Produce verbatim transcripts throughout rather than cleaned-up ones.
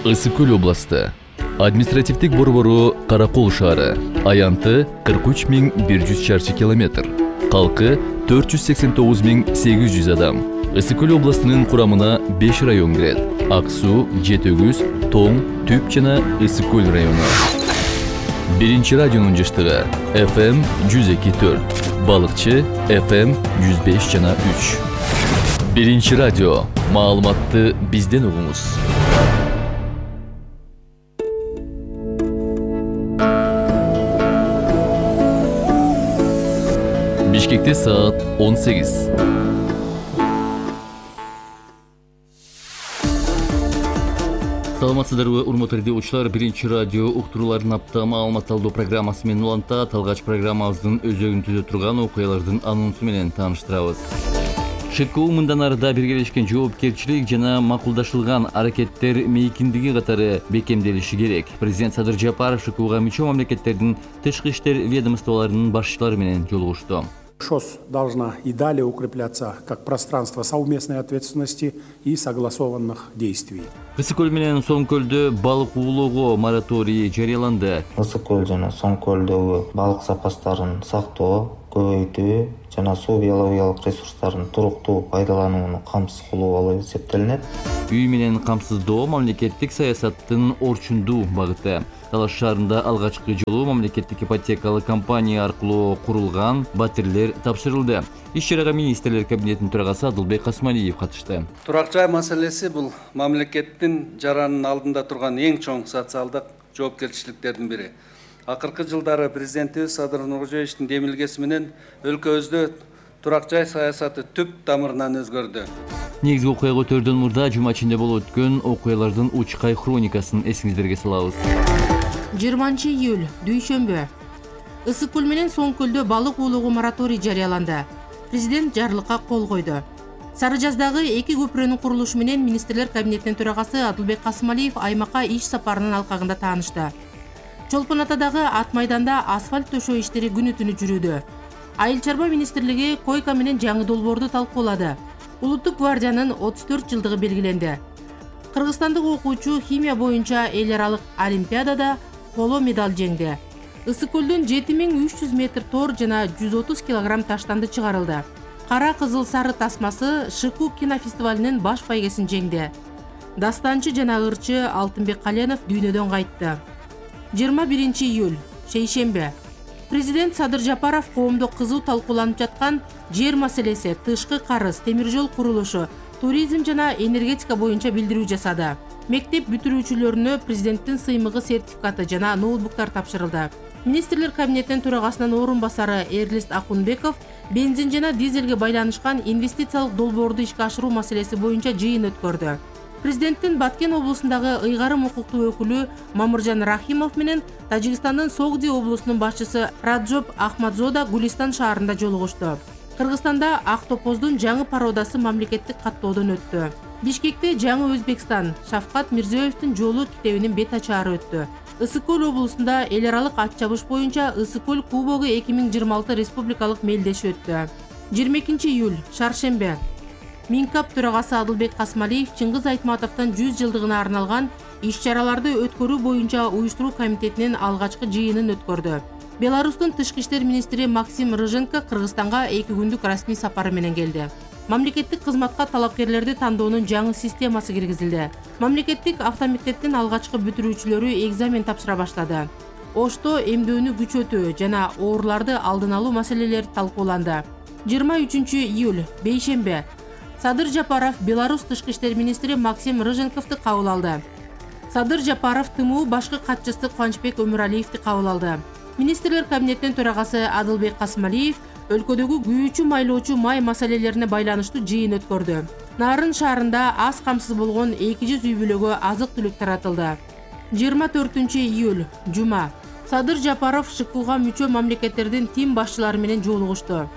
Ысык Көл областы. Административдик борбору Каракол шаары. Аянты кырк үч миң бир жүз чарчы километр. Калкы төрт жүз сексен тогуз миң сегиз жүз адам. Ысык Көл областынын курамына беш район кирет. Ак суу, Жетөгүз, Тоң, Түп жана Ысык Көл району. Биринчи радионун жыштыгы эф эм жүз эки төрт, Балыкчы эф эм жүз беш жана үч. Биринчи радио. Маалыматты бизден угуңуз. Бишкекте саат он сегиз. Саламатсыздарбы, урматтуу радиочулар. Биринчи радио уктуруулардын апта маалымат алуу программасы менен уланта талгач программабыздын өзөгүн түзө турган окуялардын анонсу менен тааныштырабыз. ШКУ мындан арыда биргелешкен жоопкерчилик жана макулдашылган аракеттер мейкиндиги катары бекемделиши керек. Президент Садыр Жапаров ШКУга мүчө мамлекеттердин тышкы иштер ведомстволорунун башчылары менен жолугушту. ШОС должна и далее укрепляться как пространство совместной ответственности и согласованных действий. Ысык Көл менен Соң Көлдө балык уулоого мораторий жарыяланды. Ысык Көл жана Соң Көлдөгү балык запастарын сактоо, көбөйтүү жана суу биологиялык ресурстарын туруктуу пайдаланууну камсыз кылуу болуп эсептелинет. Үй менен камсыздоо мамлекеттик саясаттын орчундуу багыты. Талаш шаарында алгачкы жолу мамлекеттик ипотекалык компания аркылуу курулган батирлер тапшырылды. Иш-чарага министрлер кабинетинин төрагасы Адылбек Касмалиев катышты. Турак жай маселеси бул мамлекеттин жаранын алдында турган эң чоң социалдык жоопкерчиликтердин бири. Акыркы жылдары президентибиз Садыр Нуркожоевичтин демилгеси менен өлкөбүздө турак жай саясаты түп тамырынан өзгөрдү. Негизги окуя көтөрдөн мурда жума ичинде болуп өткөн окуялардын учкай хроникасын эсиңиздерге салабыз. жыйырманчы июль дүйшөмбү. Ысык Көл менен Соң Көлдө балык уулоого мораторий жарыяланды. Президент жарлыкка кол койду. Сары Жаздагы эки көпүрөнүн курулушу менен министрлер кабинетинин төрагасы Адылбек Касмалиев аймакка иш сапарынын алкагында таанышты. Чолпон Атадагы ат майданда асфальт төшөө иштери күнү түнү жүрүүдө. Айыл чарба министрлиги койка менен жаңы долбоорду талкуулады. Улуттук гвардиянын отуз төрт жылдыгы белгиленди. Кыргызстандык окуучу химия боюнча эл аралык олимпиадада коло медаль жеңди. Ысык Көлдөн жети миң үч жүз метр тор жана жүз отуз килограмм таштанды чыгарылды. Кара кызыл сары тасмасы ШКУ кинофестивалинин баш байгесин жеңди. Дастанчы жана ырчы Алтынбек Каленов дүйнөдөн кайтты. жыйырма биринчи июль шейшембе. Президент Садыр Жапаров коомдо кызуу талкууланып жаткан жер маселеси, тышкы карыз, темир жол курулушу, туризм жана энергетика боюнча билдирүү жасады. Мектеп бүтүрүүчүлөрүнө президенттин сыймыгы сертификаты жана ноутбуктар тапшырылды. Министрлер кабинетинин төрагасынын орун басары Эрлист Акунбеков бензин жана дизелге байланышкан инвестициялык долбоорду ишке ашыруу маселеси боюнча жыйын өткөрдү. Президенттин Баткен облусундагы ыйгарым укуктуу өкүлү Мамыржан Рахимов менен Тажикстандын Согди облусунун башчысы Раджоп Ахмадзода Гулистан шаарында жолугушту. Кыргызстанда ак топоздун жаңы пародасы мамлекеттик каттоодон өттү. Бишкекте жаңы Өзбекстан Шавкат Мирзиёевдин жолу китебинин бет ачаары өттү. Ысык Көл облусунда эл аралык ат чабыш боюнча Ысык Көл кубогу эки миң жыйырма алты республикалык мелдеши өттү. жыйырма экинчи июль шаршембе. Минкап төрагасы Адылбек Касмалиев Чыңгыз Айтматовдун жүз жылдыгына арналган иш-чараларды өткөрүү боюнча уюштуруу комитетинин алгачкы жыйынын өткөрдү. Беларустун тышкы иштер министри Максим Рыженко Кыргызстанга эки күндүк расмий сапары менен келди. Мамлекеттик кызматка талапкерлерди тандоонун жаңы системасы киргизилди. Мамлекеттик автомектептин алгачкы бүтүрүүчүлөрү экзамен тапшыра баштады. Ошто эмдөөнү күчөтүү жана ооруларды алдын алуу маселелери талкууланды. жыйырма үчүнчү июль бейшембе. Садыр Жапаров Беларусь тышкы иштер министри Максим Рыженковду кабыл алды. Садыр Жапаров ТМУ башкы катчысы Кубанычбек Өмүралиевди кабыл алды. Министрлер кабинетинин төрагасы Адылбек Касмалиев өлкөдөгү күйүүчү майлоочу май маселелерине байланыштуу жыйын өткөрдү. Нарын шаарында аз камсыз болгон эки жүз үй бүлөгө азык-түлүк таратылды. жыйырма төртүнчү июль жума. Садыр Жапаров ШКУга мүчө мамлекеттердин тим башчылары менен жолугушту.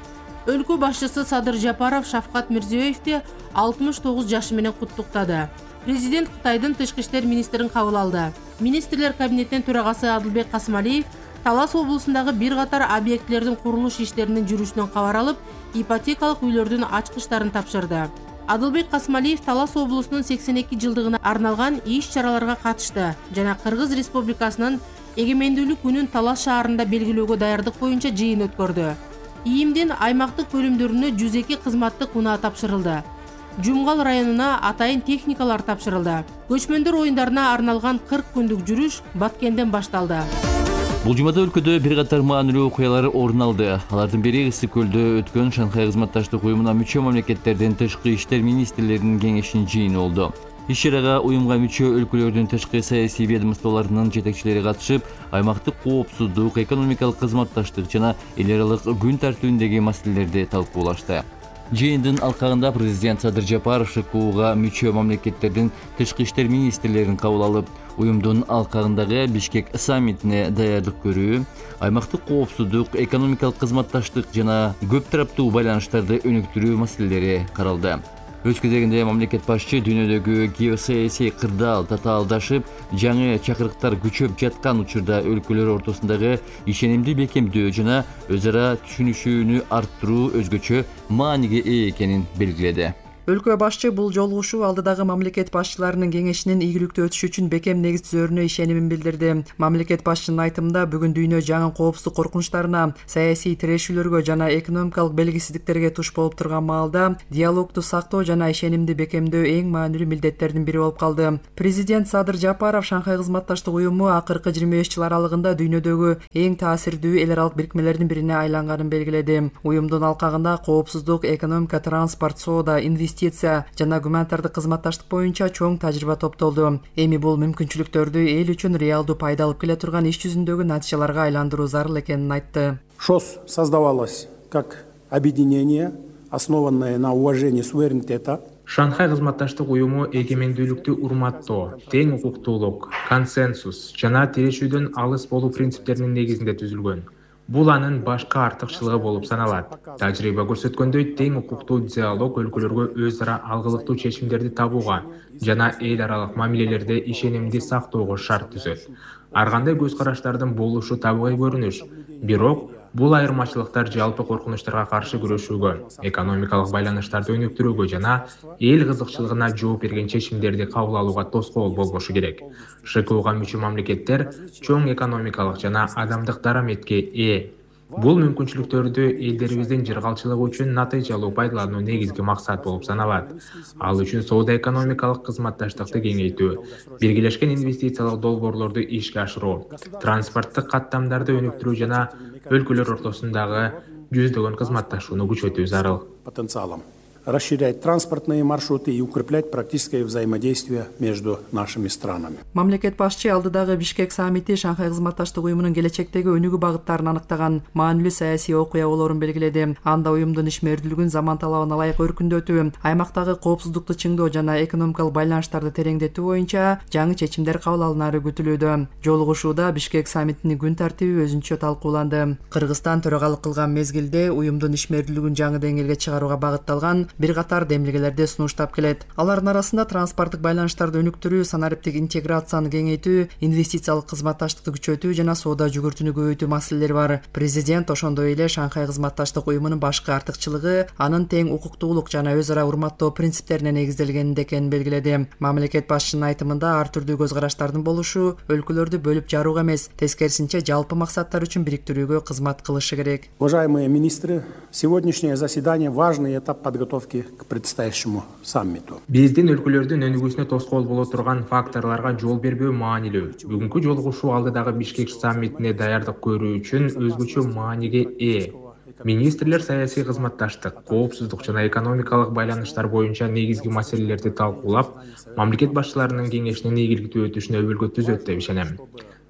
Өлкө башчысы Садыр Жапаров Шавкат Мирзиёевди алтымыш тогуз жашы менен куттуктады. Президент Кытайдын тышкы иштер министрин кабыл алды. Министрлер кабинетинин төрагасы Адылбек Касмалиев Талас облусундагы бир катар объектилердин курулуш иштеринин жүрүшүнөн кабар алып, ипотекалык үйлөрдүн ачкычтарын тапшырды. Адылбек Касмалиев Талас облусунун сексен эки жылдыгына арналган иш чараларга катышты жана Кыргыз Республикасынын эгемендүүлүк күнүн Талас шаарында белгилөөгө даярдык боюнча жыйын өткөрдү. ИИМдин аймактык бөлүмдөрүнө жүз эки кызматтык унаа тапшырылды. Жумгал районуна атайын техникалар тапшырылды. Көчмөндөр оюндарына арналган кырк күндүк жүрүш Баткенден башталды. Бул жумада өлкөдө бир катар маанилүү окуялар орун алды. Алардын бири Ысык көлдө өткөн Шанхай кызматташтык уюмуна мүчө мамлекеттердин тышкы иштер министрлеринин кеңешинин жыйыны болду. Иш чарага уюмга мүчө өлкөлөрдүн тышкы саясий ведомстволорунун жетекчилери катышып, аймактык коопсуздук, экономикалык кызматташтык жана эл аралык күн тартибиндеги маселелерди талкуулашты. Жыйындын алкагында президент Садыр Жапаров ШКУга мүчө мамлекеттердин тышкы иштер министрлерин кабыл алып, уюмдун алкагындагы Бишкек саммитине даярдык көрүү, аймактык коопсуздук, экономикалык кызматташтык жана көп тараптуу байланыштарды өнүктүрүү маселелери каралды. Өз кезегинде мамлекет башчы дүйнөдөгү геосаясий кырдаал татаалдашып, жаңы чакырыктар күчөп жаткан учурда өлкөлөр ортосундагы ишенимди бекемдөө жана өз ара түшүнүшүүнү арттыруу өзгөчө мааниге ээ экенин белгиледи. Өлкө башчы бул жолугушуу алдыдагы мамлекет башчыларынын кеңешинин ийгиликтүү өтүшү үчүн бекем негиз түзөрүнө ишенимин билдирди. Мамлекет башчынын айтымында бүгүн дүйнө жаңы коопсуздук коркунучтарына, саясий тирешүүлөргө жана экономикалык белгисиздиктерге туш болуп турган маалда диалогду сактоо жана ишенимди бекемдөө эң маанилүү милдеттердин бири болуп калды. Президент Садыр Жапаров Шанхай кызматташтык уюму акыркы жыйырма беш жыл аралыгында дүйнөдөгү эң таасирдүү эл аралык бирикмелердин бирине айланганын белгиледи. Уюмдун алкагында коопсуздук, экономика, транспорт, соода, инвестиция жана гуманитардык кызматташтык боюнча чоң тажрыйба топтолду. Эми бул мүмкүнчүлүктөрдү эл үчүн реалдуу пайда алып келе турган иш жүзүндөгү натыйжаларга айландыруу зарыл экенин айтты. ШОС создавалась как объединение, основанное на уважении суверенитета. Шанхай кызматташтык уюму эгемендүүлүктү урматтоо, тең укуктуулук, консенсус жана тирешүүдөн алыс болуу принциптеринин негизинде түзүлгөн. Бул анын башкы артыкчылыгы болуп саналат. Тажрыйба көрсөткөндөй, тең укуктуу диалог өлкөлөргө өз ара алгылыктуу чечимдерди табууга жана эл аралык мамилелерде ишенимди сактоого шарт түзөт. Ар кандай көз караштардын болушу табигый көрүнүш, бирок бул айырмачылыктар жалпы коркунучтарга каршы күрөшүүгө, экономикалык байланыштарды өнүктүрүүгө жана эл кызыкчылыгына жооп берген чечимдерди кабыл алууга тоскоол болбошу керек. ШКУга мүчө мамлекеттер чоң экономикалык жана адамдык дараметке ээ. Бул мүмкүнчүлүктөрдү элдерибиздин жыргалчылыгы үчүн натыйжалуу пайдалануу негизги максат болуп саналат. Ал үчүн соода экономикалык кызматташтыкты кеңейтүү, биргелешкен инвестициялык долбоорлорду ишке ашыруу, транспорттук каттамдарды өнүктүрүү жана өлкөлөр ортосундагы жүздөгөн кызматташууну күчөтүү зарыл. Потенциалом расширять транспортные маршруты и укреплять практическое взаимодействие между нашими странами. Мамлекет башчы алдыдагы Бишкек саммити Шанхай кызматташтык уюмунун келечектеги өнүгүү багыттарын аныктаган маанилүү саясий окуя болоорун белгиледи. Анда уюмдун ишмердүүлүгүн заман талабына ылайык өркүндөтүү, аймактагы коопсуздукту чыңдоо жана экономикалык байланыштарды тереңдетүү боюнча жаңы чечимдер кабыл алынары күтүлүүдө. Жолугушууда Бишкек саммитинин күн тартиби өзүнчө талкууланды. Кыргызстан төрагалык кылган мезгилде уюмдун ишмердүүлүгүн жаңы деңгээлге чыгарууга багытталган бир катар демилгелерди сунуштап келет. Алардын арасында транспорттук байланыштарды өнүктүрүү, санариптик интеграцияны кеңейтүү, инвестициялык кызматташтыкты күчөтүү жана соода жүгүртүүнү көбөйтүү маселелери бар. Президент ошондой эле Шанхай кызматташтык уюмунун башкы артыкчылыгы анын тең укуктуулук жана өз ара урматтоо принциптерине негизделгенинде экенин белгиледи. Мамлекет башчынын айтымында ар түрдүү көз караштардын болушу өлкөлөрдү бөлүп жарууга эмес, тескерисинче жалпы максаттар үчүн бириктирүүгө кызмат кылышы керек. Уважаемые министры, сегодняшнее заседание важный этап подготовки к предстоящему саммиту. Биздин өлкөлөрдүн өнүгүүсүнө тоскоол боло турган факторлорго жол бербөө маанилүү. Бүгүнкү жолугушуу алдыдагы Бишкек саммитине даярдык көрүү үчүн өзгөчө мааниге ээ. Министрлер саясий кызматташтык, коопсуздук жана экономикалык байланыштар боюнча негизги маселелерди талкуулап, мамлекет башчыларынын кеңешинин ийгиликтүү өтүшүнө өбөлгө түзөт деп ишенем.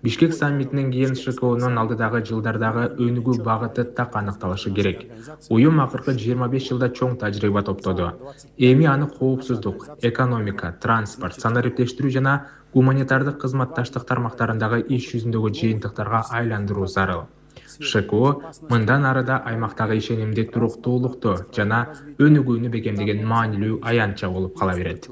Бишкек саммитинен кийин ШКУнун алдыдагы жылдардагы өнүгүү багыты так аныкталышы керек. Уюм акыркы жыйырма беш жылда чоң тажрыйба топтоду. Эми аны коопсуздук, экономика, транспорт, санариптештирүү жана гуманитардык кызматташтык тармактарындагы иш жүзүндөгү жыйынтыктарга айландыруу зарыл. ШКУ мындан арыда аймактагы ишенимди, туруктуулукту жана өнүгүүнү бекемдеген маанилүү аянтча болуп кала берет.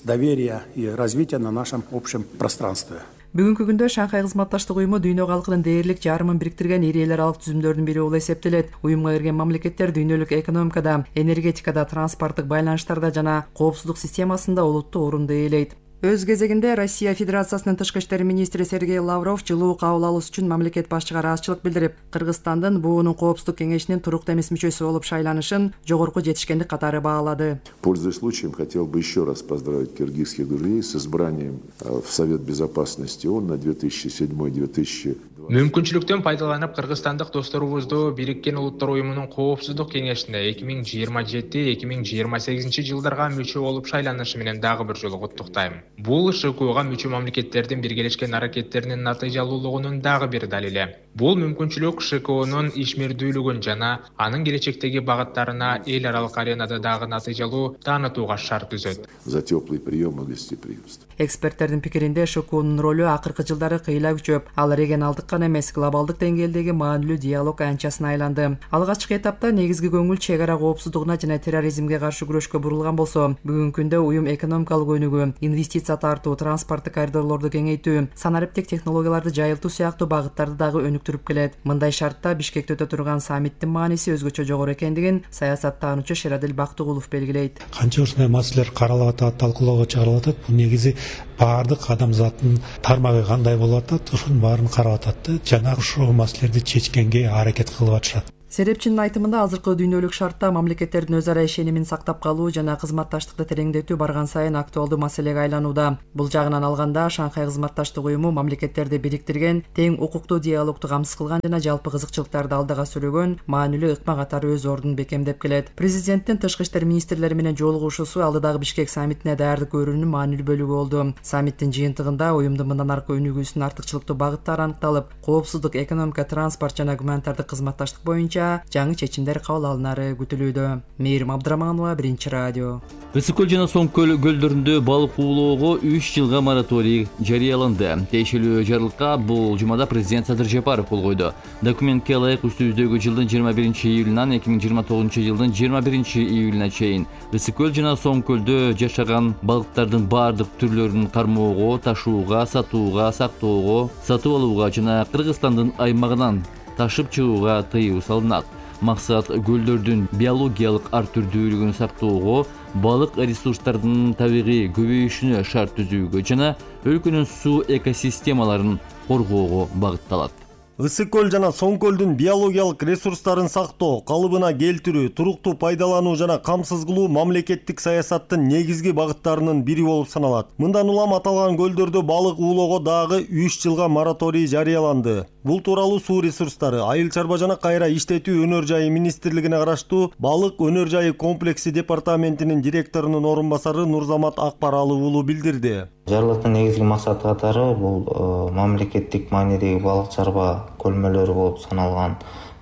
Доверие и развитие на нашем общем пространстве. Бүгүнкү күндө Шанхай кызматташтык уюму дүйнө калкынын дээрлик жарымын бириктирген ири эл аралык түзүмдөрдүн бири болуп эсептелет. Уюмга кирген мамлекеттер дүйнөлүк экономикада, энергетикада, транспорттук байланыштарда жана коопсуздук системасында олуттуу орунду ээлейт. Өз кезегинде Россия Федерациясынын тышкы иштер министри Сергей Лавров жылуу кабыл алуусу үчүн мамлекет башчыга ыраазычылык билдирип, Кыргызстандын буунун коопсуздук кеңешинин туруктуу эмес мүчөсү болуп шайланышын жогорку жетишкендик катары баалады. Пользуясь случаем, хотел бы еще раз поздравить киргизских друзей с избранием в Совет Безопасности ООН на две тысячи седьмой — две тысячи Мүмкүнчүлүктөн пайдаланып, кыргызстандык досторубузду Бириккен Улуттар уюмунун коопсуздук кеңешине эки миң жыйырма жети — эки миң жыйырма сегизинчи жылдарга мүчө болуп шайланышы менен дагы бир жолу куттуктайм. Бул ШКОга мүчө мамлекеттердин биргелешкен аракеттеринин натыйжалуулугунун дагы бир далили. Бул мүмкүнчүлүк ШКОнун ишмердүүлүгүн жана анын келечектеги багыттарына эл аралык аренада дагы натыйжалуу таанытууга шарт түзөт. За теплый прием и гостеприимство. Эксперттердин пикиринде ШКОнун ролу акыркы жылдары кыйла күчөп, ал регионалдык эмес, глобалдык деңгээлдеги маанилүү диалог анчасына айланды. Алгачкы этапта негизги көңүл чек ара коопсуздугуна жана терроризмге каршы күрөшкө бурулган болсо, бүгүнкү күндө уюм экономикалык өнүгүү, инвестиция тартуу, транспорттук коридорлорду кеңейтүү, санариптик технологияларды жайылтуу сыяктуу багыттарды дагы өнүктүрүп келет. Мындай шартта Бишкекте өтө турган саммиттин мааниси өзгөчө жогору экендигин саясаттануучу Шерадил Бактыгулов белгилейт. Канча ушундай маселелер каралып атат, талкуулоого чыгарылып атат. Бул негизи баардык адамзаттын тармагы кандай болуп атат, ошонун баарын карап атат. Жана ушул маселелерди чечкенге аракет кылып атышат. Серепчинин айтымында азыркы дүйнөлүк шартта мамлекеттердин өз ара ишенимин сактап калуу жана кызматташтыкты тереңдетүү барган сайын актуалдуу маселеге айланууда. Бул жагынан алганда Шанхай кызматташтык уюму мамлекеттерди бириктирген, тең укуктуу диалогду камсыз кылган жана жалпы кызыкчылыктарды алдыга сүрөгөн маанилүү ыкма катары өз ордун бекемдеп келет. Президенттин тышкы иштер министрлери менен жолугушуусу алдыдагы Бишкек саммитине даярдык көрүүнүн маанилүү бөлүгү болду. Саммиттин жыйынтыгында уюмдун мындан аркы өнүгүүсүнүн артыкчылыктуу багыттары аныкталып, коопсуздук, экономика, транспорт жана гуманитардык кызматташтык боюнча жаңы чечимдер кабыл алынары күтүлүүдө. Мээрим Абдыраманова, Биринчи радио. Ысык көл жана Соң көл көлдөрүндө балык уулоого үч жылга мораторий жарыяланды. Тиешелүү жарлыкка бул жумада президент Садыр Жапаров кол койду. Документке ылайык үстүбүздөгү жылдын жыйырма биринчи июлунан эки миң жыйырма тогузунчу жылдын жыйырма биринчи июлуна чейин Ысык көл жана Соң көлдө жашаган балыктардын баардык түрлөрүн кармоого, ташууга, сатууга, сактоого, сатып алууга жана Кыргызстандын аймагынан ташып чыгууга тыюу салынат. Максат көлдөрдүн биологиялык ар түрдүүлүгүн сактоого, балык ресурстарынын табигый көбөйүшүнө шарт түзүүгө жана өлкөнүн суу экосистемаларын коргоого багытталат. Ысык көл жана Соң көлдүн биологиялык ресурстарын сактоо, калыбына келтирүү, туруктуу пайдалануу жана камсыз кылуу мамлекеттик саясаттын негизги багыттарынын бири болуп саналат. Мындан улам аталган көлдөрдө балык уулоого дагы үч жылга мораторий жарыяланды. Бул тууралуу Суу ресурстары, Айыл чарба жана кайра иштетүү өнөр жайы министрлигине караштуу балык өнөр жайы комплекси департаментинин директорунун орун басары Нурзамат Акбаралы уулу билдирди. Жарлыктын негизги максаты катары бул мамлекеттик маанидеги балык чарба көлмөлөрү болуп саналган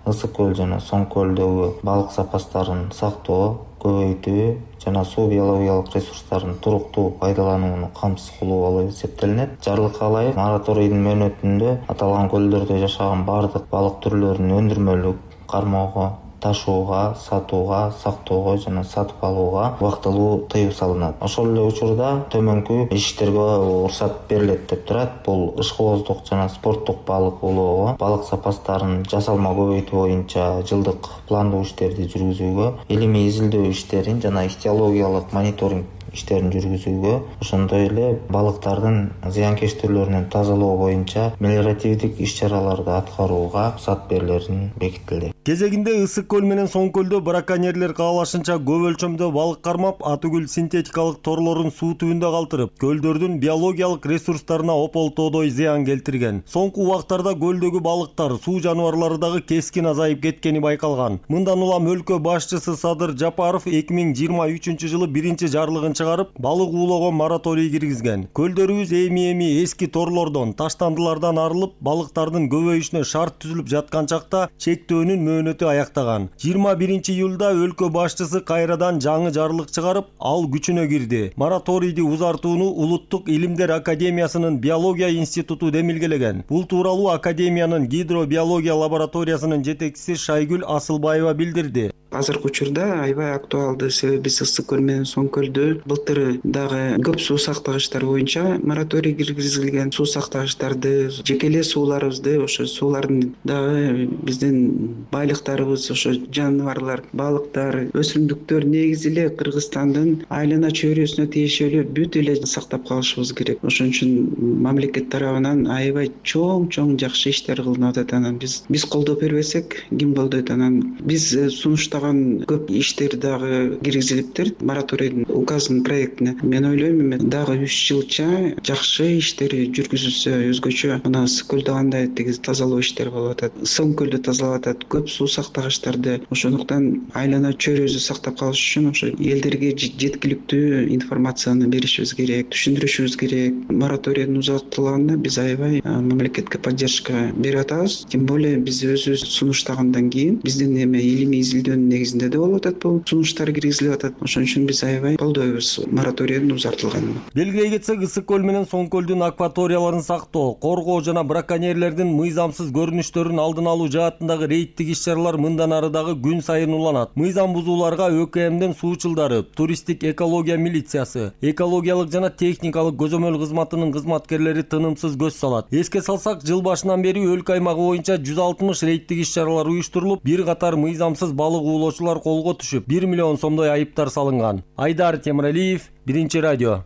Ысык көл жана Соң көлдөгү балык запастарын сактоо, көбөйтүү жана суу биологиялык ресурстарын туруктуу пайдаланууну камсыз кылуу болуп эсептелинет. Жарлыкка ылайык мораторийдин мөөнөтүндө аталган көлдөрдө жашаган баардык балык түрлөрүн өндүрмөлүк, кармоого, ташууга, сатууга, сактоого жана сатып алууга убактылуу тыюу салынат. Ошол эле учурда төмөнкү иштерге уруксат берилет деп турат. Бул ышкыбоздук жана спорттук балык уулоого, балык запастарын жасалма көбөйтүү боюнча жылдык пландуу иштерди жүргүзүүгө, илимий изилдөө иштерин жана ихтиологиялык мониторинг иштерин жүргүзүүгө, ошондой эле балыктардын зыянкеч түрлөрүнөн тазалоо боюнча мелиоративдик иш-чараларды аткарууга уруксат берилерин бекитилди. Кезегинде Ысык көл менен Соң көлдө браконьерлер каалашынча көп өлчөмдө балык кармап, атүгүл синтетикалык торлорун суу түбүндө калтырып, көлдөрдүн биологиялык ресурстарына ополтоодой зыян келтирген. Соңку убактарда көлдөгү балыктар, суу жаныбарлары дагы кескин азайып кеткени байкалган. Мындан улам өлкө башчысы Садыр Жапаров эки миң жыйырма үчүнчү жылы биринчи жарлыгын чыгарып, балык уулоого мораторий киргизген. Көлдөрүбүз эми-эми эски торлордон, таштандылардан арылып, балыктардын көбөйүшүнө шарт түзүлүп жаткан чакта чектөөнүн мөөнөтү аяктаган. жыйырма биринчи июлда өлкө башчысы кайрадан жаңы жарлык чыгарып, ал күчүнө кирди. Мораторийди узартууну Улуттук илимдер академиясынын биология институту демилгелеген. Бул тууралуу академиянын гидробиология лабораториясынын жетекчиси Шайгүл Асылбаева билдирди. азыркы учурда аябай актуалдуу, себеби биз Ысык көл менен Соң көлдө былтыр дагы көп суу сактагычтар боюнча мораторий киргизилген. Суу сактагычтарды, жеке эле сууларыбызды, ошо суулардын дагы биздин байлыктарыбыз, ошо жаныбарлар, балыктар, өсүмдүктөр негизи эле Кыргызстандын айлана чөйрөсүнө тиешелүү бүт эле сактап калышыбыз керек. Ошон үчүн мамлекет тарабынан аябай чоң-чоң жакшы иштер кылынып атат. Анан биз биз колдоо бербесек ким колдойт? Анан биз сунуштаган көп иштер дагы киргизилиптир мораторийдин указынын проектине. Мен ойлойм, эми дагы үч жылча жакшы иштер жүргүзүлсө, өзгөчө мына Ысык көлдө кандай тиги тазалоо иштери болуп атат, Соң көлдө тазалап атат, көп суу сактагычтарды. Ошондуктан айлана чөйрөбүздү сактап калыш үчүн ошо элдерге жеткиликтүү информацияны беришибиз керек, түшүндүрүшүбүз керек. Мораторийдин узартылганына биз аябай мамлекетке поддержка берип атабыз. Тем более биз өзүбүз сунуштагандан кийин биздин эме илимий изилдөөнүн негизинде да болуп атат, бул сунуштар киргизилип атат. Ошон үчүн биз аябай колдойбуз мораторийдин узартылганын. Белгилей кетсек, Ысык көл менен Соң көлдүн акваторияларын сактоо, коргоо жана браконьерлердин мыйзамсыз көрүнүштөрүн алдын алуу жаатындагы рейдтик иш-чаралар мындан ары дагы күн сайын уланат. Мыйзам бузууларга ÖКМдин суучулдары, туристтик экология милициясы, экологиялык жана техникалык көзөмөл кызматынын кызматкерлери тынымсыз көз салат. Эске салсак, жыл башынан бери өлкө аймагы боюнча жүз алтымыш рейдтик иш-чаралар уюштурулуп, бир катар мыйзамсыз балык уулоочулар колго түшүп, бир миллион сомдой айыптар салынган. Айдар Темиралиев, Биринчи радио.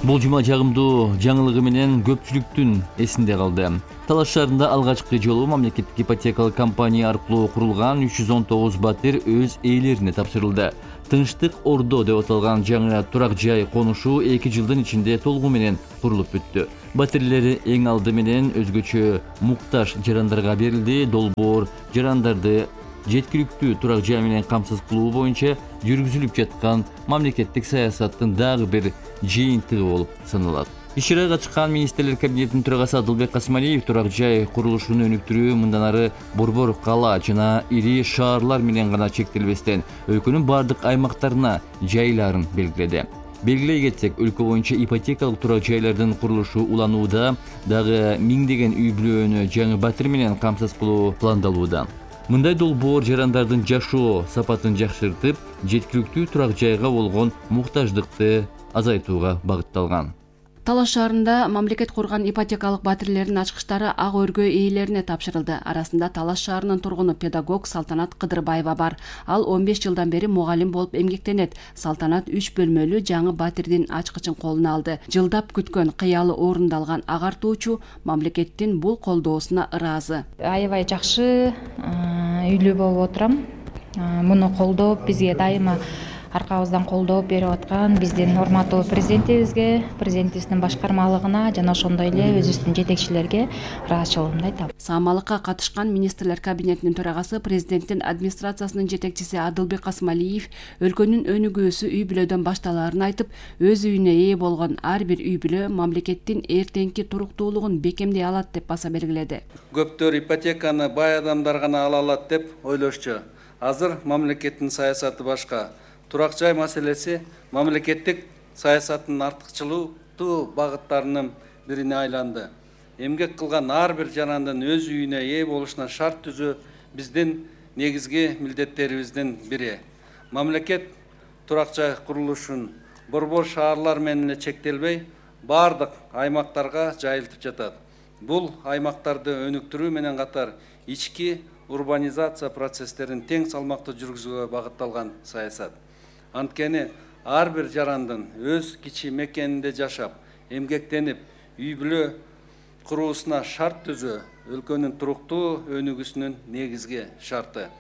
Бул жума жагымдуу жаңылыгы менен көпчүлүктүн эсинде калды. Талаш шаарында алгачкы жолу мамлекеттик ипотекалык компания аркылуу курулган үч жүз он тогуз батир өз ээлерине тапшырылды. Тынчтык Ордо деп аталган жаңы турак жай конушу эки жылдын ичинде толугу менен курулуп бүттү. Батирлери эң алды менен өзгөчө муктаж жарандарга берилди. Долбоор жарандарды жеткиликтүү турак жай менен камсыз кылуу боюнча жүргүзүлүп жаткан мамлекеттик саясаттын дагы бир жыйынтыгы болуп саналат. Иш-чарага катышкан министрлер кабинетинин төрагасы Адылбек Касымалиев турак жай курулушун өнүктүрүү мындан ары борбор кала жана ири шаарлар менен гана чектелбестен өлкөнүн бардык аймактарына жайларын белгиледи. Белгилей кетсек, өлкө боюнча ипотекалык турак жайлардын курулушу уланууда, дагы миңдеген үй бүлөнү жаңы батир менен камсыз кылуу пландалууда. Мындай долбоор жарандардын жашоо сапатын жакшыртып, жеткиликтүү турак жайга болгон муктаждыкты азайтууга багытталган. Талаш шаарында мамлекет курган ипотекалык батирлердин ачкычтары ак өргө ээлерине тапшырылды. Арасында Талаш шаарынын тургуну педагог Салтанат Кыдырбаева бар. Ал он беш жылдан бери мугалим болуп эмгектенет. Салтанат үч бөлмөлүү жаңы батирдин ачкычын колуна алды. Жылдап күткөн кыялы орундалган агартуучу мамлекеттин бул колдоосуна ыраазы. Аябай жакшы үйлүү болуп отурам. Муну колдоп, бизге дайыма аркабыздан колдоо берип аткан биздин урматтуу президентибизге, президентибиздин башкармалыгына жана ошондой эле өзүбүздүн жетекчилерге ыраазычылыгымды айтам. Саамалыкка катышкан министрлер кабинетинин төрагасы, президенттин администрациясынын жетекчиси Адылбек Касымалиев өлкөнүн өнүгүүсү үй бүлөдөн башталаарын айтып, өз үйүнө ээ болгон ар бир үй бүлө мамлекеттин эртеңки туруктуулугун бекемдей алат деп баса белгиледи. Көптөр ипотеканы бай адамдар гана ала алат деп ойлошчу. Азыр мамлекеттин саясаты башка. Турак жай маселеси мамлекеттик саясаттын артыкчылыктуу багыттарынын бирине айланды. Эмгек кылган ар бир жарандын өз үйүнө ээ болушуна шарт түзүү биздин негизги милдеттерибиздин бири. Мамлекет турак жай курулушун борбор шаарлар менен эле чектелбей, бардык аймактарга жайылтып жатат. Бул аймактарды өнүктүрүү менен катар ички урбанизация процесстерин тең салмактуу жүргүзүүгө багытталган саясат. Анткени ар бир жарандын өз кичи мекенинде жашап, эмгектенип, үй бүлө куруусуна шарт түзүү өлкөнүн туруктуу өнүгүүсүнүн негизги шарты.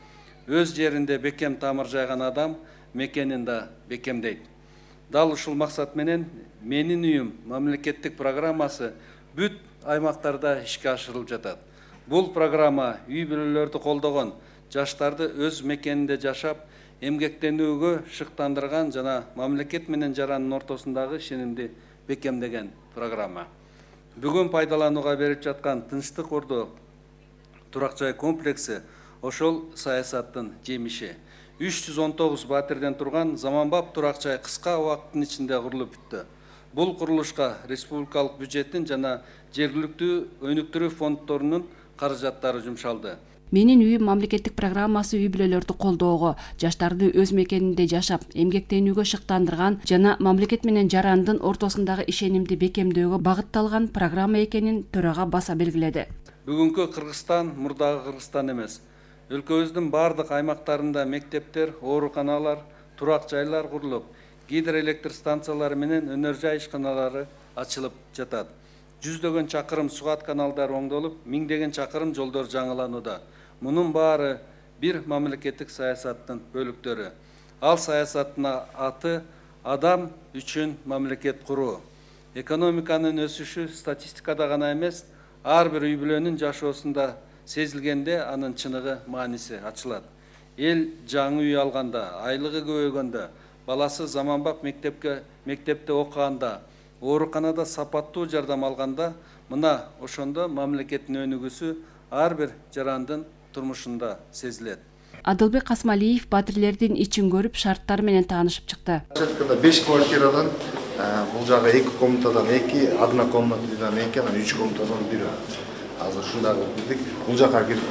Өз жеринде бекем тамыр жайган адам мекенин да бекемдейт. Дал ушул максат менен менин үйүм мамлекеттик программасы бүт аймактарда ишке ашырылып жатат. Бул программа үй бүлөлөрдү колдогон, жаштарды өз мекенинде жашап, эмгектенүүгө шыктандырган жана мамлекет менен жарандын ортосундагы ишенимди бекемдеген программа. Бүгүн пайдаланууга берип жаткан Тынчтык Ордо турак жай комплекси ошол саясаттын жемиши. үч жүз он тогуз батирден турган заманбап турак жай кыска убакыттын ичинде курулуп бүттү. Бул курулушка республикалык бюджеттин жана жергиликтүү өнүктүрүү фонддорунун каражаттары жумшалды. Менин үйүм мамлекеттик программасы үй бүлөлөрдү колдоого, жаштарды өз мекенинде жашап, эмгектенүүгө шыктандырган жана мамлекет менен жарандын ортосундагы ишенимди бекемдөөгө багытталган программа экенин төрага баса белгиледи. Бүгүнкү Кыргызстан мурдагы Кыргызстан эмес. Өлкөбүздүн бардык аймактарында мектептер, ооруканалар, турак жайлар курулуп, гидроэлектр станциялары менен өнөр жай ишканалары ачылып жатат. Жүздөгөн чакырым сугат каналдары оңдолуп, миңдеген чакырым жолдор жаңыланууда. Мунун баары бир мамлекеттик саясаттын бөлүктөрү. Ал саясаттын аты адам үчүн мамлекет куруу. Экономиканын өсүшү статистикада гана эмес, ар бир үй бүлөнүн жашоосунда сезилгенде анын чыныгы мааниси ачылат. Эл жаңы үй алганда, айлыгы көбөйгөндө, баласы заманбап мектепке мектепте окуганда, ооруканада сапаттуу жардам алганда, мына ошондо мамлекеттин өнүгүүсү ар бир жарандын турмушунда сезилет. Адылбек Касмалиев батирлердин ичин көрүп, шарттары менен таанышып чыкты. беш квартирадан бул жагы эки комнатадан эки, одна комнатадан эки, анан үч комнатадан бир. Азыр ушундагы бирдик. Бул жака кирип.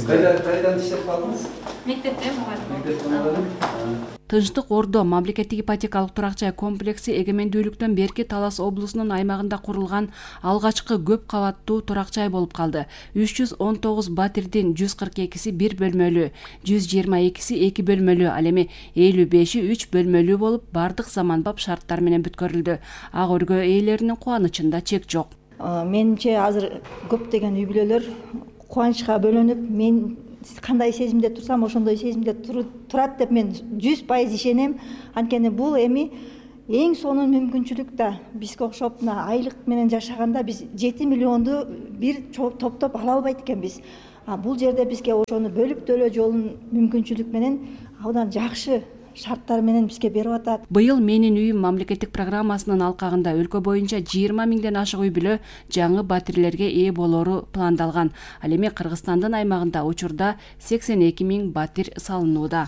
Кайда кайдан иштеп калдыңыз? Мектепте мугалим. Тынчтык Ордо мамлекеттик ипотекалык турак жай комплекси эгемендүүлүктөн берки Талас облусунун аймагында курулган алгачкы көп кабаттуу турак жай болуп калды. үч жүз он тогуз батирдин жүз кырк экиси бир бөлмөлүү, жүз жыйырма экиси эки бөлмөлүү, ал эми элүү беши үч бөлмөлүү болуп, бардык заманбап шарттар менен бүткөрүлдү. Ак өргө ээлеринин кубанычында чек жок. Менимче азыр көптөгөн үй бүлөлөр кубанычка бөлөнүп, мен кандай сезимде турсам ошондой сезимде турат деп мен жүз пайыз ишенем. Анткени бул эми эң сонун мүмкүнчүлүк да. Бизге окшоп айлык менен жашаганда биз жети миллионду бир топтоп ала албайт экенбиз. А бул жерде бизге ошону бөлүп төлөө жолун мүмкүнчүлүк менен абдан жакшы шарттар менен бизге берип атат. Быйыл Менин үйүм мамлекеттик программасынын алкагында өлкө боюнча жыйырма миңден ашык үй бүлө жаңы батирлерге ээ болору пландалган. Ал эми Кыргызстандын аймагында учурда сексен эки миң батир салынууда.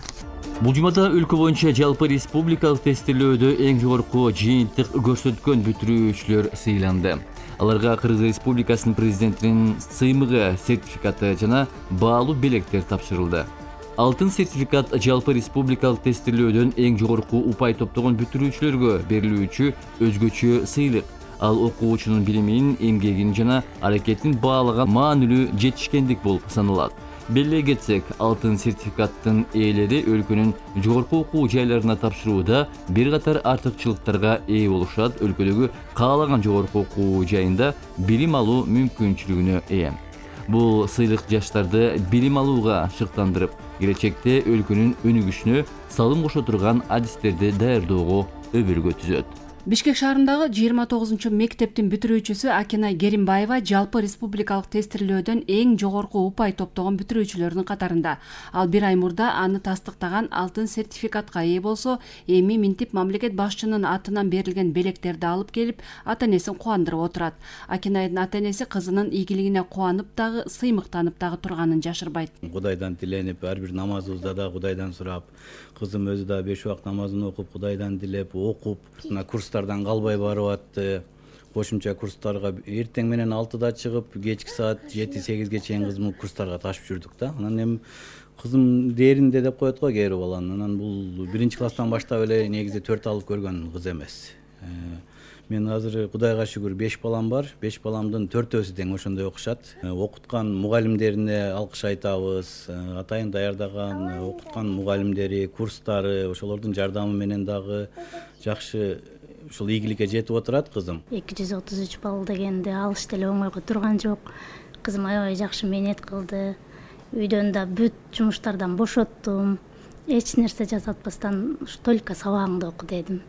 Бул жумада өлкө боюнча жалпы республикалык тестилөөдө эң жогорку жыйынтык көрсөткөн бүтүрүүчүлөр сыйланды. Аларга Кыргыз Республикасынын президентинин сыймыгы сертификаты жана баалуу белектер тапшырылды. Алтын сертификат жалпы республикалык тестилөөдөн эң жогорку упай топтогон бүтүрүүчүлөргө берилүүчү өзгөчө сыйлык. Ал окуучунун билимин, эмгегин жана аракетин баалаган маанилүү жетишкендик болуп саналат. Белгилей кетсек, алтын сертификаттын ээлери өлкөнүн жогорку окуу жайларына тапшырууда бир катар артыкчылыктарга ээ болушат. Өлкөдөгү каалаган жогорку окуу жайында билим алуу мүмкүнчүлүгүнө ээ. Бул сыйлык жаштарды билим алууга шыктандырып, келечекте өлкөнүн өнүгүшүнө салым кошо турган адистерди даярдоого өбөлгө түзөт. Бишкек шаарындагы жыйырма тогузунчу мектептин бүтүрүүчүсү Акинай Керимбаева жалпы республикалык тестилөөдөн эң жогорку упай топтогон бүтүрүүчүлөрдүн катарында. Ал бир ай мурда аны тастыктаган алтын сертификатка ээ болсо, эми минтип мамлекет башчынын атынан берилген белектерди алып келип, ата-энесин кубандырып отурат. Акинайдын ата-энеси кызынын ийгилигине кубанып дагы, сыймыктанып дагы турганын жашырбайт. Кудайдан тиленип, ар бир намазыбызда да Кудайдан сурап, кызым өзү да беш убак намазын окуп, Кудайдан тилеп, окуп, мына курстардан калбай барып атты. Кошумча курстарга эртең менен алтыда чыгып, кечки саат жети сегизге чейин кызымды курстарга ташып жүрдүк да. Анан эми кызым дээринде деп коет го кээ бир баланы. Анан бул биринчи класстан баштап эле негизи төрт алып көргөн кыз эмес. Мен азыр Кудайга шүгүр беш балам бар. беш баламдын төртөөсү тең ошондой окушат. Окуткан мугалимдерине алкыш айтабыз. Атайын даярдаган окуткан мугалимдери, курстары, ошолордун жардамы менен дагы жакшы ушул ийгиликке жетип отурат кызым. эки жүз отуз үч балл дегенде алыш деле оңойго турган жок. Кызым аябай жакшы мээнет кылды. Үйдөн да бүт жумуштардан бошоттум. Эч нерсе жасатпастан только сабагыңды оку дедим.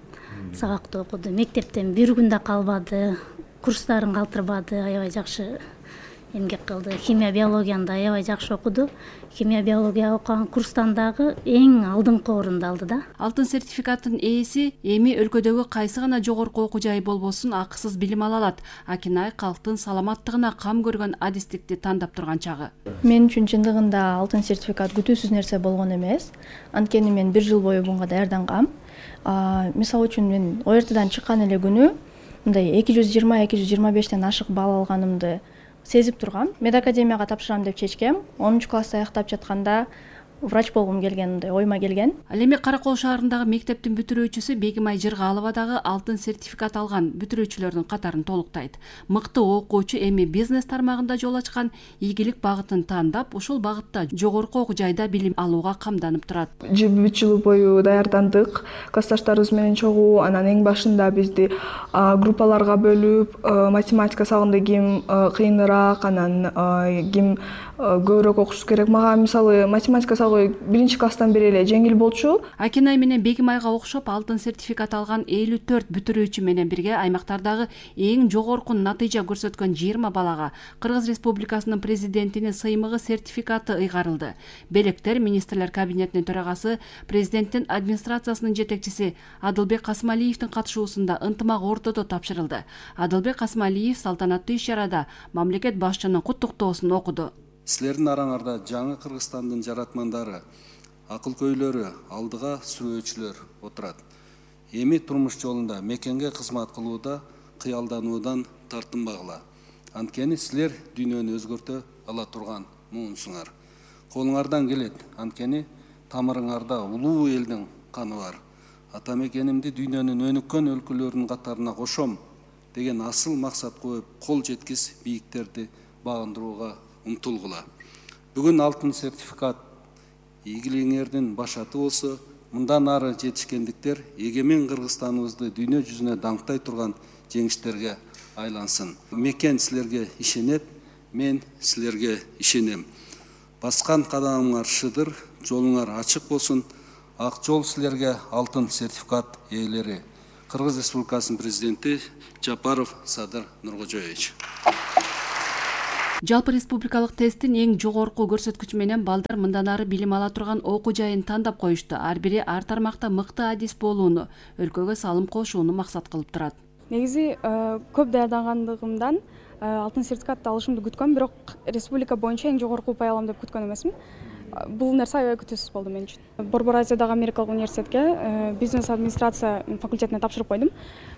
Сабакты окуду. Мектептен бир күн да калбады. Курстарын калтырбады. Аябай жакшы эмгек кылды. Химия биологияны да аябай жакшы окуду. Химия биология окуган курстан дагы эң алдыңкы орунду алды да. Алтын сертификаттын ээси эми өлкөдөгү кайсы гана жогорку окуу жай болбосун акысыз билим ала алат. Акинай калктын саламаттыгына кам көргөн адистикти тандап турган чагы. Мен үчүн чындыгында алтын сертификат күтүүсүз нерсе болгон эмес. Анткени мен бир жыл бою буга даярдангам. Мисалы үчүн мен о эр тэдан чыккан эле күнү мындай эки жүз жыйырма эки жүз жыйырма бештен ашык балл алганымды сезип тургам. Медакадемияга тапшырам деп чечкем. онунчу классты аяктап жатканда врач болгум келген, мындай ойма келген. Ал эми Каракол шаарындагы мектептин бүтүрүүчүсү Бегимай Жыргалова дагы алтын сертификат алган бүтүрүүчүлөрдүн катарын толуктайт. Мыкты окуучу эми бизнес тармагында жол ачкан ийгилик багытын тандап, ушул багытта жогорку окуу жайда билим алууга камданып турат. үч жыл бою даярдандык, классташтарыбыз менен чогуу, анан эң башында бизди группаларга бөлүп, математика сабагында ким кыйыныраак, анан ким көбүрөөк окушу керек. Мага мисалы математика сабагы биринчи класстан бери эле жеңил болчу. Акинай менен Бегимайга окшоп алтын сертификат алган элүү төрт бүтүрүүчү менен бирге аймактардагы эң жогорку натыйжа көрсөткөн жыйырма балага Кыргыз Республикасынын президентинин сыймыгы сертификаты ыйгарылды. Белектер министрлер кабинетинин төрагасы, президенттин администрациясынын жетекчиси Адылбек Касымалиевдин катышуусунда ынтымак ортодо тапшырылды. Адылбек Касымалиев салтанаттуу иш-чарада мамлекет башчынын куттуктоосун окуду. Силердин араңарда жаңы Кыргызстандын жаратмандары, акыл-көйлөрү, алдыга сүрөөчүлөр отурат. Эми турмуш жолунда мекенге кызмат кылууда кыялдануудан тартынбагыла. Анткени силер дүйнөнү өзгөртө ала турган муунсуңар. Колуңардан келет, анткени тамырыңарда улуу элдин каны бар. Ата мекенимди дүйнөнүн өнүккөн өлкөлөрүнүн катарына кошом деген асыл максат коюп, кол жеткис бийиктерди багындырууга умтулгула. Бүгүн алтын сертификат ийгилигиңердин башаты болсо, мындан ары жетишкендиктер эгемен Кыргызстаныбызды дүйнө жүзүнө даңктай турган жеңиштерге айлансын. Мекен силерге ишенет, мен силерге ишенем. Баскан кадамыңар шыдыр, жолуңар ачык болсун. Ак жол силерге алтын сертификат ээлери. Кыргыз Республикасынын президенти Жапаров Садыр Нуркожоевич. Жалпы республикалык тесттин эң жогорку көрсөткүчү менен балдар мындан ары билим ала турган окуу жайын тандап коюшту. Ар бири ар тармакта мыкты адис болууну, өлкөгө салым кошууну максат кылып турат. Негизи көп даярдангандыгымдан алтын сертификатты алышымды күткөм, бирок республика боюнча эң жогорку упай алам деп күткөн эмесмин. Бул нерсе аябай күтүүсүз болду мен үчүн. Борбор Азиядагы Америкалык университетке бизнес администрация факультетине тапшырып койдум.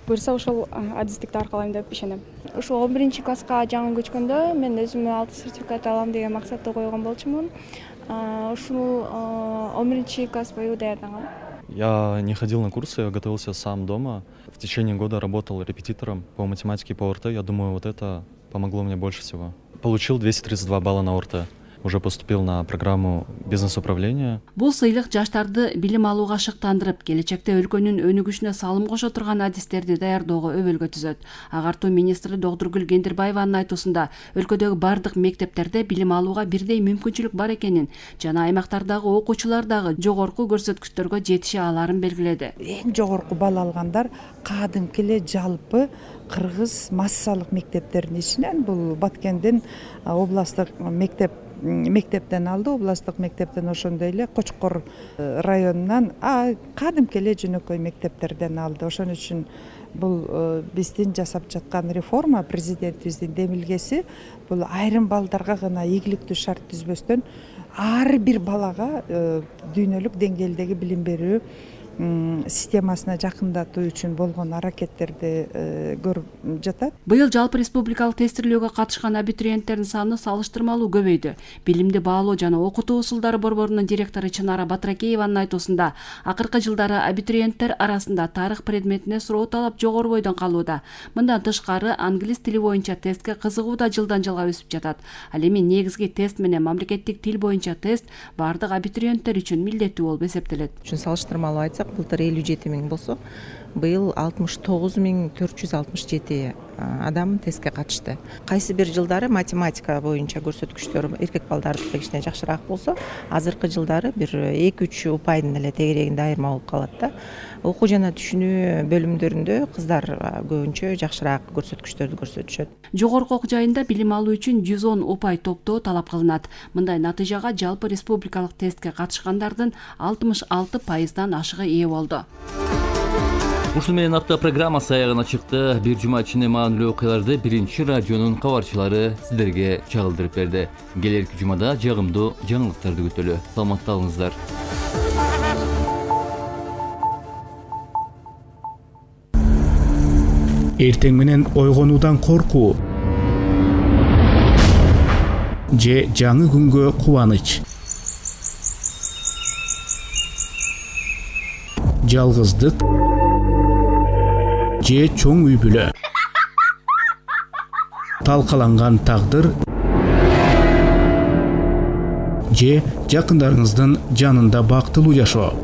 Буюрса ошол адистикти аркалайм деп ишенем. Ошо он биринчи класска жаңы көчкөндө мен өзүмө алтын сертификат алам деген максатты койгон болчумун. Ушул он биринчи класс бою даярдангам. Я не ходил на курсы, я готовился сам дома. В течение года работал репетитором по математике по ОРТ. Я думаю, вот это помогло мне больше всего. Получил двести тридцать два балла на ОРТ. Уже поступил на программу бизнес-управления. Бул сыйлык жаштарды билим алууга шыктандырып, келечекте өлкөнүн өнүгүшүнө салым кошо турган адистерди даярдоого өбөлгө түзөт. Агартуу министри Догдургүл Кендирбаеванын айтуусунда, өлкөдөгү бардык мектептерде билим алууга бирдей мүмкүнчүлүк бар экенин жана аймактардагы окуучулар дагы жогорку көрсөткүчтөргө жетише аларын белгиледи. Эң жогорку балл алгандар кадимки эле жалпы кыргыз массалык мектептердин ичинен, бул Баткендин областтык мектеп мектептен алды, областтык мектептен, ошондой эле Кочкор районунан кадимки эле жөнөкөй мектептерден алды. Ошон үчүн бул биздин жасап жаткан реформа, президентибиздин демилгеси бул айрым балдарга гана ийгиликтүү шарт түзбөстөн ар бир балага дүйнөлүк деңгээлдеги билим берүү системасына жакындатуу үчүн болгон аракеттерди көрүп жатат. Быйыл жалпы республикалык тестирлөөгө катышкан абитуриенттердин саны салыштырмалуу көбөйдү. Билимди баалоо жана окутуу усулдары борборунун директору Чынара Батракееванын айтуусунда, акыркы жылдары абитуриенттер арасында тарых предметине суроо талап жогору бойдон калууда. Мындан тышкары англис тили боюнча тестке кызыгуу да жылдан жылга өсүп жатат. Ал эми негизги тест менен мамлекеттик тил боюнча тест бардык абитуриенттер үчүн милдеттүү болуп эсептелет. Салыштырмалуу айтсак, былтыр элүү жети миң болсо, быйыл алтымыш тогуз миң төрт жүз алтымыш жети адам тестке катышты. Кайсы бир жылдары математика боюнча көрсөткүчтөр эркек балдардыкы кичине жакшыраак болсо, азыркы жылдары бир эки үч упайдын эле тегерегинде айырма болуп калат да. Окуу жана түшүнүү бөлүмдөрүндө кыздар көбүнчө жакшыраак көрсөткүчтөрдү көрсөтүшөт. Жогорку окуу жайында билим алуу үчүн жүз он упай топтоо талап кылынат. Мындай натыйжага жалпы республикалык тестке катышкандардын алтымыш алты пайыздан ашыгы ээ болду. Ушун менен апта программасы аягына чыкты. Бир жума ичинде маанилүү окуяларды биринчи радионун кабарчылары сиздерге чагылдырып берди. Келерки жумада жагымдуу жаңылыктарды күтөлү. Саламатта болуңуздар. Эртең менен ойгонуудан коркуу. же жаңы күнгө кубаныч, жалгыздык же чоң үй бүлө, талкаланган тагдыр же жакындарыңыздын жанында бактылуу жашоо.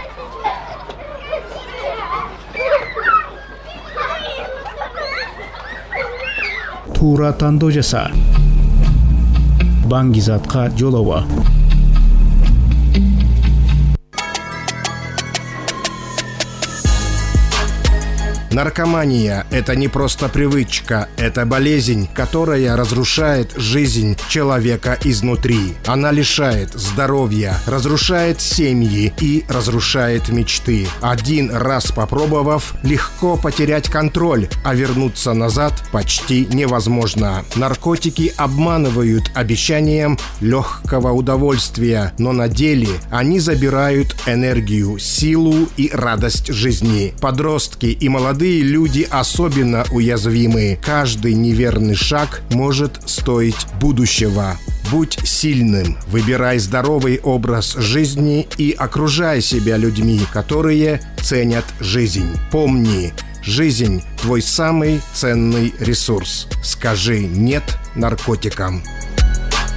Туура тандоо жаса, баңгизатка жолобо. Наркомания – это не просто привычка, это болезнь, которая разрушает жизнь человека изнутри. Она лишает здоровья, разрушает семьи и разрушает мечты. Один раз попробовав, легко потерять контроль, а вернуться назад почти невозможно. Наркотики обманывают обещанием легкого удовольствия, но на деле они забирают энергию, силу и радость жизни. Подростки и молодые люди особенно уязвимы. Каждый неверный шаг может стоить будущего. Будь сильным, выбирай здоровый образ жизни и окружай себя людьми, которые ценят жизнь. Помни, жизнь – твой самый ценный ресурс. Скажи «нет» наркотикам.